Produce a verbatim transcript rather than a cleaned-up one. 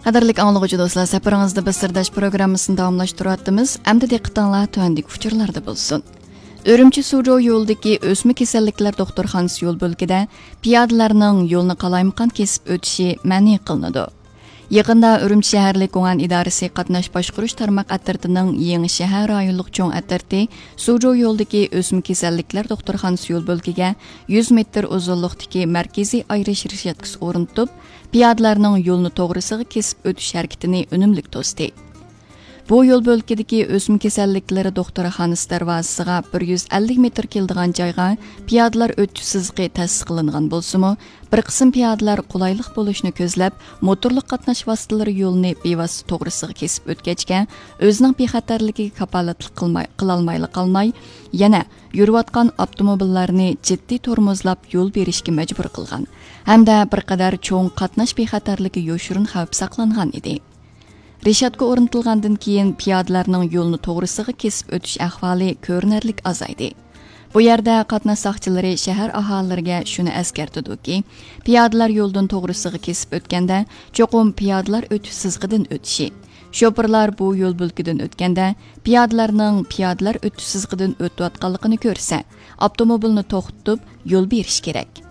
قەدىرلىك ئاڭلىغۇچى دوستلار، سەپىرىڭىزدە بىز سىرداش پروگراممىسىنى داۋاملاشتۇرۇۋاتىمىز. ئەمدى دىققىتىڭلار تۆۋەندىكى ئۇچۇرلاردا بولسۇن. ئۈرۈمچى سۇجو يولىدىكى ئۆسمە كېسەللىكلەر دوختۇرخانىسى يول بۆلىكىدە پىيادىلەرنىڭ يولنى قالايمىقان كېسىپ ئۆتۈشى مەنئى قىلىنىدۇ. يېقىندا ئۈرۈمچى شەھەرلىك گۇڭئەن ئىدارىسى قاتناش باشقۇرۇش تارماق ئەترىتىنىڭ يېڭى شەھەر رايونلۇق چوڭ ئەترىتى سۇجو يولىدىكى ئۆسمە كېسەللىكلەر دوختۇرخانىسى يول بۆلىكىگە يۈز مېتىر ئۇزۇنلۇقتىكى مەركىزىي ئايرىش رېشاتكىسى ئورنىتىپ، پىيادىلەرنىڭ يولنى توغرىسىغا كېسىپ ئۆتۈش ھەرىكىتىنى ئۈنۈملۈك توستى. بۇ يول بۆلىكىدىكى ئۆسمە كېسەللىكلىرى دوختۇرخانىسى دەرۋازىسىغا بىر يۈز ئەللىك مېتىر كېلىدىغان جايغا پىيادىلەر ئۆتۈش سىزىقى تەسىس قىلىنغان بولسىمۇ، بىر قىسىم پىيادىلەر قولايلىق بولۇشنى كۆزلەپ، موتورلۇق قاتناش ۋاسىتىلىرى يولىنى بىۋاسىتە توغرىسىغا كېسىپ ئۆتكەچكە، ئۆزىنىڭ بىخەتەرلىكىگە كاپالەتلىك قىلماي، قىلالمايلا قالماي، يەنە يۈرۈۋاتقان ئاپتوموبىللارنى جىددىي تورمۇزلاپ يول بېرىشكە مەجبۇر قىلغان ھەمدە بىر قەدەر چوڭ قاتناش بىخەتەرلىكى يوشۇرۇن خەۋپ ساقلانغان ئىدى. رېشاتكا ئورنىتىلغاندىن كېيىن، پىيادىلەرنىڭ يولنى توغرىسىغا كېسىپ ئۆتۈش ئەھۋالى كۆرۈنەرلىك ئازايدى. بۇ يەردە قاتناش ساقچىلىرى شەھەر ئاھالىلىرىگە شۇنى ئەسكەرتىدۇكى، پىيادىلەر يولدىن توغرىسىغا كېسىپ ئۆتكەندە، چوقۇم پىيادىلەر ئۆتۈش سىزىقىدىن ئۆتۈشى، شوپۇرلار بۇ يول بۆلىكىدىن ئۆتكەندە، پىيادىلەرنىڭ پىيادىلەر ئۆتۈش سىزىقىدىن ئۆتۈۋاتقانلىقىنى كۆرسە، ئاپتوموبىلنى توختىتىپ، يول بېرىشى كېرەك.